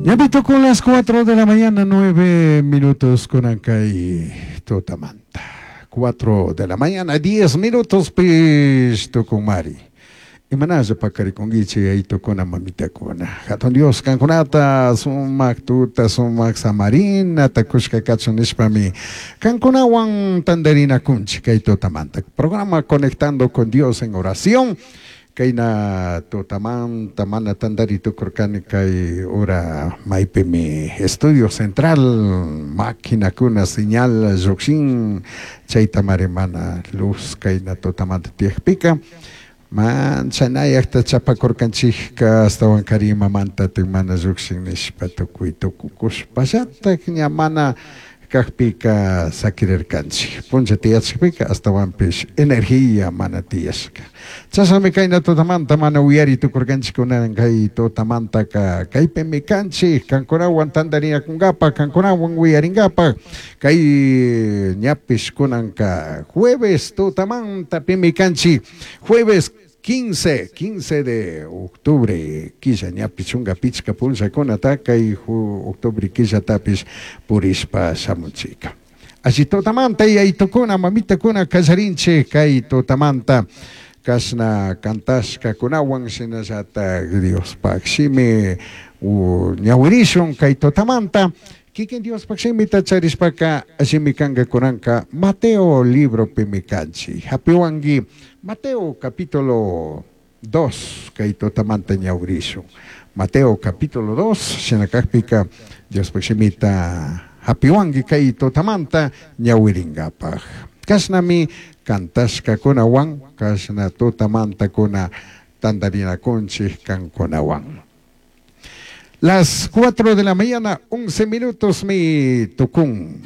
Ñapi tukun las 4 de la mañana, 9 minutos kunan kay tutamanta. 4 de la mañana, 10 minutos pish tukunmari. Imanalla paqarikunkichik yayitukuna mamitakuna. Hatun Dios kankunata sumak tuta sumak samarinata kushka kachun nishpami kankunawan tantarinakunchik kay tutamanta. Programa Conectando con Dios en Oración. Kayna tutamanta mana tantari tukurkani kay hora maypimi estudio central maquinakuna señal llukshin chaytamari mana luz kayna tutamanta tiyakpika manchanayakta chapakurkanchikka ashtawankari imamantatik mana llukshin nishpa tukuy tukukushpallatak ña mana kakpika sakirirkanchik punlla tiyachikpika ashtawanpish energía mana tiyashka chashnami kayna tutamanta mana uyari tukurkanchik kunan kay tutamantaka kaypimi kanchik kankunawan tantarinakunkapak kankunawan uyarinkapak kay ñapish kunanka jueves tutamanta pimi kanchik jueves 15, 15 de octubre killa ñapish chunka pichka punllakunata kay octubre killatapish purishpa shamunchika. Alli tutamanta yayitukuna mamitakuna kallarinchik kay tutamanta kashna kantashkakunawan shinallatak Diospaj shimi ñawirishun kay tutamanta kikin Diospaj shimita charishpaka allimi kanka kunanka Mateo libropimi kanchik. Hapiwanki Mateo capítulo 2 kay tutamanta ñawirishun. Mateo capítulo 2 shina kakpika Diospaj shimita hapiwanki kay tutamanta ñawiringapaj. Kashnami kantashkakunawan kashna tutamantakuna tantarinakunchik kankunawan. Las 4 de la mañana, 11 minutos mi tukun.